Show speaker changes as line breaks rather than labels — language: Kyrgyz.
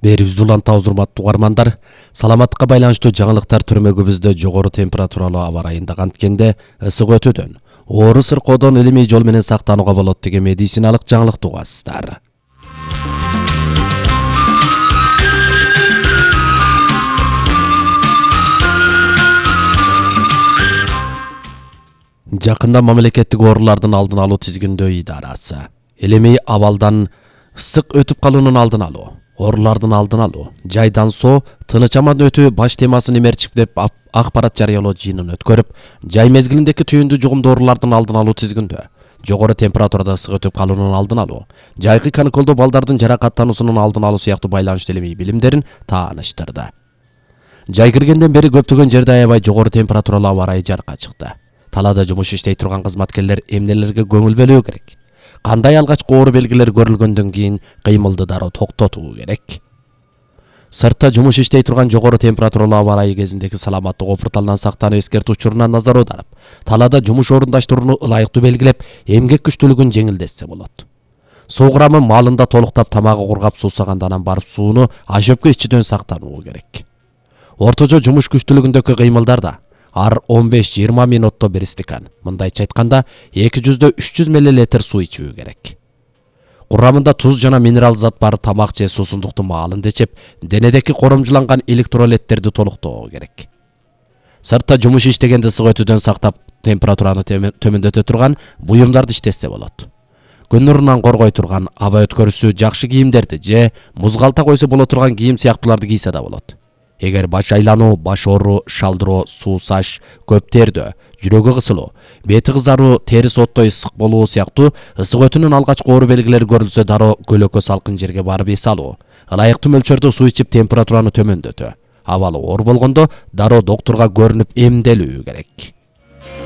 Берибизди улантабыз, урматтуу угармандар. Саламаттыкка байланыштуу жаңылыктар түрмөгүбүздө жогору температуралуу аба ырайында канткенде ысык өтүүдөн, оору сыркоодон илимий жол менен сактанууга болот деген медициналык жаңылыкты угасыздар. Жакында мамлекеттик оорулардын алдын алуу тизгиндөө идарасы илимий абалдан ысык өтүп калуунун алдын алуу, оорулардын алдын алуу, жайдан соо, тыныч аман өтүү баш темасын имерчиктеп акпарат жарыялоо жыйынын өткөрүп, жай мезгилиндеги түйүндүү жугумдуу оорулардын алдын алуу тизгиндөө жогору температурада ысык өтүп калуунун алдын алуу, жайкы каникулдуу балдардын жаракаттануусунун алдын алуу сыяктуу байланыштуу илимий билимдерин тааныштырды. Жай киргенден бери көптөгөн жерде аябай жогору температуралуу аба ырайы жарыкка чыкты. Талаада жумуш иштей турган кызматкерлер эмнелерге көңүл бөлүү керек? Кандай алгачкы оору белгилери көрүлгөндөн кийин кыймылды дароо токтотуу керек? Сыртта жумуш иштей турган жогору температуралуу аба ырайы кезиндеги саламаттык офурталынан сактануу эскертүү учуруна назар аударып, талаада жумуш орундаштырууну ылайыктуу белгилеп, эмгек күчтүүлүгүн жеңилдетсе болот. Суу курамы маалында толуктап, тамагы кургап суусаганда анан барып сууну ашөпкө ичүүдөн сактануу керек. Орточо жумуш күчтүүлүгүндөгү кыймылдарда ар 15-20 минутто бир стакан, мындайча айтканда 200-300 мл суу ичүү керек. Курамында туз жана минерал зат бар тамак же суусундукту маалында ичип, денедеки коромжуланган электролиттерди толуктоо керек. Сыртта жумуш иштегенде ысык өтүүдөн сактап, температураны төмөндөтө турган буюмдарды иштесе болот. Күн нурунан коргой турган аба өткөрүүсү жакшы кийимдерди же музгалта койсо боло турган кийим сыяктууларды кийсе да болот. Эгер баш айлануу, баш оору, шалдыроо, суусаш, көп тердөө, жүрөгү кысылуу, бети кызаруу, терис оттой ысык болуу сыяктуу ысык өтүүнүн алгачкы оору белгилери көрүлсө дароо көлөкө салкын жерге барып эс алуу, ылайыктуу мөлчөрдө суу ичип температураны төмөндөтүү, абалы оор болгондо дароо доктурга көрүнүп эмделүү керек.